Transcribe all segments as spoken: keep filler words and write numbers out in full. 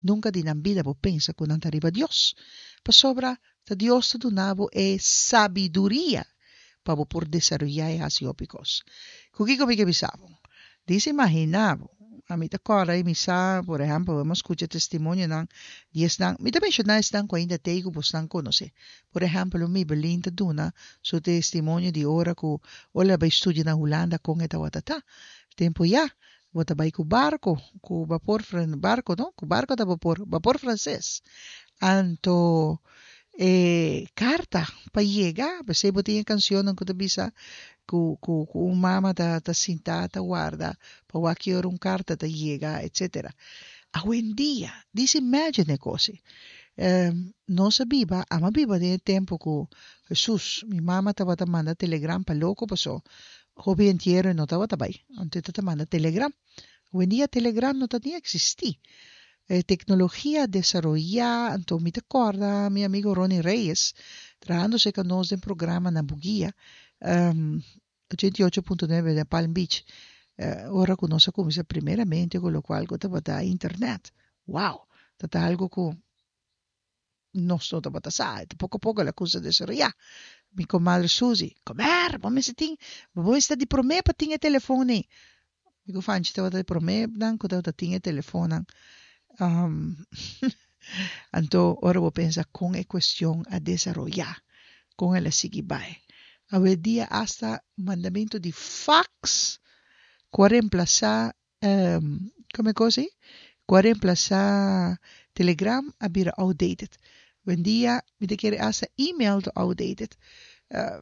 Nunka di nan bida bo pensa ku nan ta riba Dios. Pasobra ta Dios ta duna bo e sabiduria pa bo por desaroyá i hasi hopi kos. Ku kiko mi ke bisa bo? Djis imaginá bo, ami ta kòrda i mi sa, por ehèmpel, bo a skucha testimonionan di esnan, mi ta menshoná esnan ku ainda t'ei ku bosnan konosé. Por ehèmpel, un Mibelin ta duna su testimonio di ora ku ora el a bai studia na Hulanda kon e tabata ta. Tempu ya, bo ta bai ku barko, ku bapor, barko no, ku barko ta bapor, bapor franses. Anto e karta pa yega, p'esei bo tin e kanshonnan ku ta bisa ku ku ku un mama ta ta sinta ta warda pa wak ki ora un karta ta yega, etsetera. Awendia, djis imagine e kos ei. Nos a biba, amo a biba den e tempu ku Hesus, mi mama tabata manda telegram pa loko paso hopi entiero e no tabata bai, anto e ta manda telegram. Awendia telegram no ta ni eksistí. E teknologia a desaroyá, anto mi ta kòrda mi amigo Ronnie Reyes trahando serka nos den programa na Bugia, ochenta i ocho punto nuebe den Palm Beach, ora ku nos a kuminsá primeramente ku lokual ku tabata internet. Wow! Ta ta algu ku nos no tabata sa, e poko poko el a kuminsá desaroyá. Mi komadre Suzy, Komer, bo mester tin, bo mester ta di promé pa tin e telefon ei. Mi ku Fanchi tabata di promé nan ku tabata tin e telefonnan. Anto ora bo pensa kon e kuestion a desaroyá, kon el a sigui bai. Awendia asta mandamentu di fax ku a remplasá Como e cos ey? Cu a reemplaza Telegram a bira outdated. Hoendia mi ta kere hasta email ta outdated.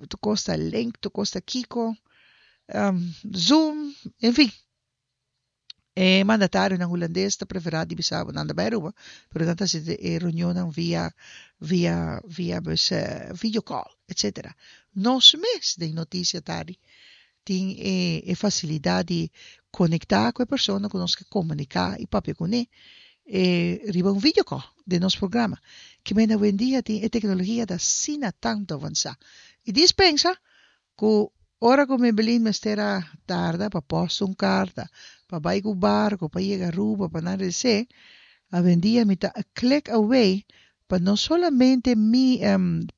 Tur cos ta link, tur cos ta kico, Zoom, en fin. E mandatarionan hulandes ta prefera di bisa bo nan ta bay Aruba, pero nan ta haci e reunionnan via via via pues video call, etcetera. Nos mes den noticia tardi tin e e facilidad di conecta cu e persona cu nos ke comunica y papia cune e riba un video call den nos programa. Kimen awendia tin e tecnologia ta asina tanto avansa. Y dispensa cu ora cu Maybelline mester a tarda pa post un carta, pa bay cu barco, pa yega Aruba, pa nan rece, awendia mi ta a click away pa no solamente mi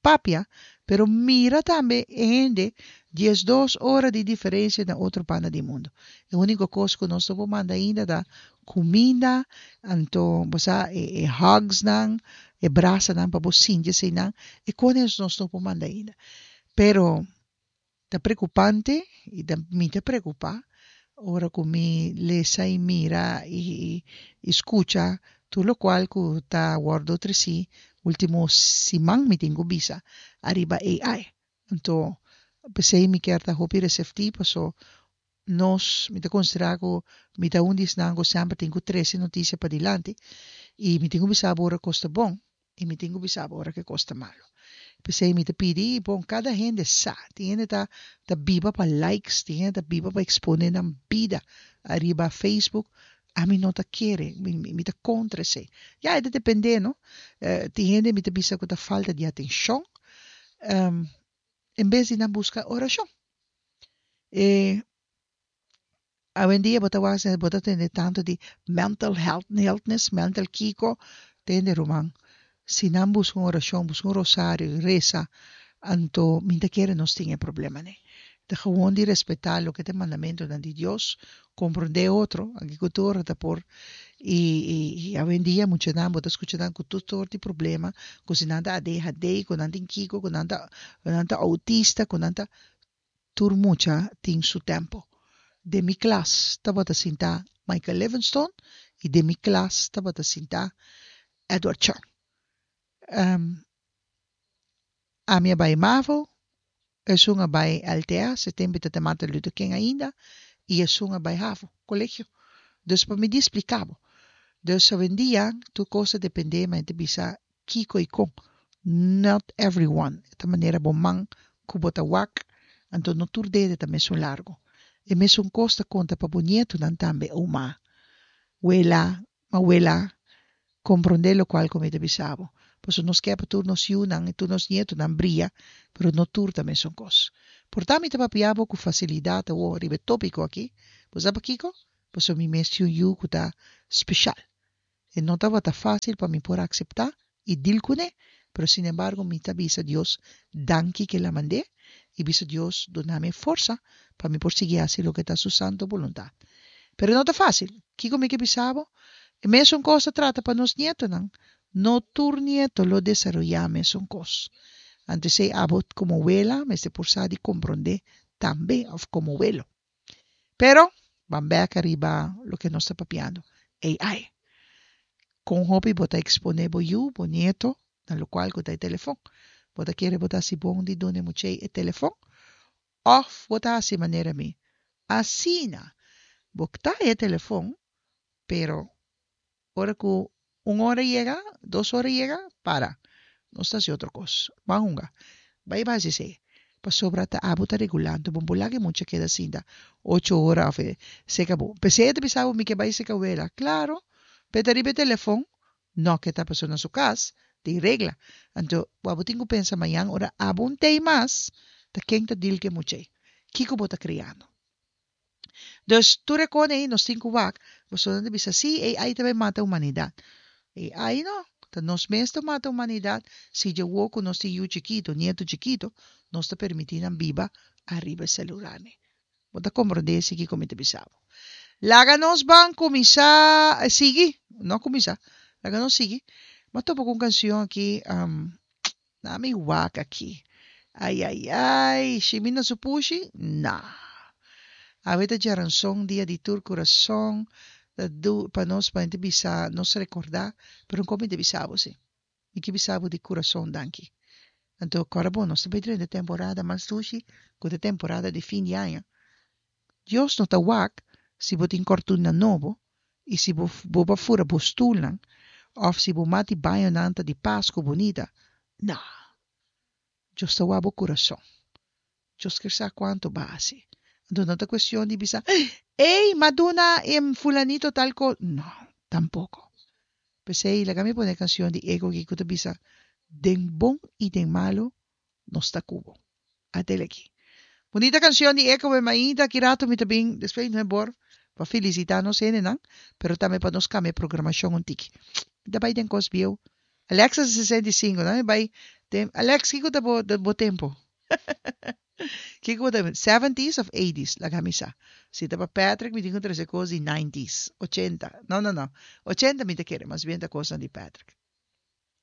papia, pero mira tambe e hende diesdos ora di diferencia na otro banda di mundo. E unico cos cu nos no por manda ainda ta cuminda, anto bo sa e hugsnan, e brasanan pa bo sinti eseinan, e cones nos no por manda ainda. Pero ta preocupante y ta mi ta preocupa ora cu mi lesa y mira y y scucha tur locual cu ta wordo treci ultimo siman mi tin cu bisa ariba A I. Anto pesey mi kier ta hopi receptivo paso nos mi ta considera cu mi ta un di esnan cu semper tin cu trece noticia padilanti y mi tin cu bisa bo ora cos ta bon y mi tin cu bisa bo ora cu e cos ta malo. P'esei mi ta pidi, bon, kada hende sa, tin hende ta ta biba pa likes, tin hende ta biba pa expone nan bida ariba Facebook, ami no ta kere, mi mi ta kontra esei. Ya, e ta depende no, tin hende mi ta bisa ku ta falta di atenshon, en bes di nan buska orashon. E Awendia bo ta wak bo ta tende tantu di mental health healthness, mental kiko, tende ruman, si nan buska un orashon, buska un rosario i resa, anto mi ta kere nos tin e problema ne. Ta gewoon di respetá loke ta e mandamentunan di Dios, komprondé otro, aki ku tur ora ta por, i i awendia muchanan bo ta skucha nan ku tur sort di problema, ku si nan ta A D H D, ku nan tin kiko, ku nan ta ku nan ta autista, ku nan ta. Tur mucha tin su tempo. Den mi klas tabata sinta Michael Livingstone i den mi klas tabata sinta Edward Chang. Ami a bai Mavo, esun a bai L T S, e tempo ta Martin Luther King ainda, i esun a bai Havo, colegio. Dus pa mi di splica bo. Dus awendia tur kos ta depende, ma ta bisa kiko i kon. Not everyone. Ta manera bo man ku bo ta wak, anto no tur dede ta mesun largo. E mesun kos ta konta pa bo nietunan tambe, oma, wela, mawela, komprondé lokual ku mi ta bisa bo. Pasobra nos ke pa tur nos yunan i tur nos nietunan bria, pero no tur ta mesun kos. Por ta mi ta papia bo ku fasilidat awor riba e tópiko aki. Bo sa pakiko? Pasobra mi mes tin un yu ku ta speshal. E no tabata fásil pa mi por akseptá i deal kuné, pero sinembargo mi ta bisa Dios danki ku el a mand'é i bisa Dios duna mi forsa pa mi por sigui hasi loke ta su santu boluntat. Pero no ta fásil. Kiko mi ke bisa bo? E mesun kos ta trata pa nos nietonan. No tur nieto lo desaroyá mesun kos. Anto esei abo komo wela mester por sa di komprondé tambe òf komo welo. Pero, ban bèk ariba loke nos ta papiando, A I. Kon hopi bo ta eksponé bo yu, bo nieto, na lokual ku ta e telefòn? Bo ta kere bo ta hasi bon di duna e muchei e telefòn? Òf bo ta hasi manera mi? Asina, bo ta e telefòn, pero ora ku un ora yega, dos ora yega, para. Nos ta hasi otro kos. Ban hunga. Bai bai hasi esei. Pasobra ta abo ta regulando. Bo no por laga e mucha keda sinta ocho ora òf seka bo. P'esei e ta bisa bo mi ke bai seka wela. Klaro, p'e ta riba e telefòn, no ke ta pasobra na su kas tin regla. Anto bo tin ku pensa mañan ora abo un tei mas, ta ken ta deal ku e mucha ei? Kiko bo ta kriando? Dus tur e kos ei nos tin ku wak. Boso ta bisa si A I ta bai mata humanidat. A I no. Ta nos mes ta mata humanidat si dje ku nos tin yu chikitu, nieto chikitu, nos ta permití nan biba ariba e selular. Bo ta komprondé esei kiko mi ta bisa bo. Laga nos ban kuminsá sigui, no kuminsá. Laga nos sigui. M'a topa ku un kanshon aki, um, na mi wak aki. Ai ai ai, Shimina su pushi? Nah. Awe ta djaranson, dia di tur kurason, pa nos pa bisa nos rekordá, pero kon mi ta bisa bo si. Mi ke bisa bo di kurason danki. Anto, awor bon, nos tambe den temporada mas dushi, ku e temporada di fin di aña. Dios no ta wak si bo tin kortina nobo i si bo bo fura bo stulnan, òf si bo mata di baño ta di Pasku bunita. No. Dios ta wak bo kurason. Dios ke sa kuantu b'a hasi. Anto no ta kuestion di bisa, ei, m'a duna em fulanito tal kos. No, tampoko. P'esei, laga mi pone kanshon di Ego ku ta bisa, den bon i den malu, nos ta ku bo. At'é aki. Bunita kanshon di Eko be mainta, ki ratu mi tambe, despues no bor, pa felisitá nos hendenan, pero tambe pa nos kambia programashon un tiki. Da bai den kos bieu. Alexa sesenta i sinku, no? Bai, den, Alex, kiko ta bo, bo tempu? Kiko ta seventies òf eighties? Laga mi sa. Si ta pa Patrick, mi tin ku trese kos di nineties, ochenta. No, no, no. ochenta mi ta kere, mas bien ta kos di Patrick.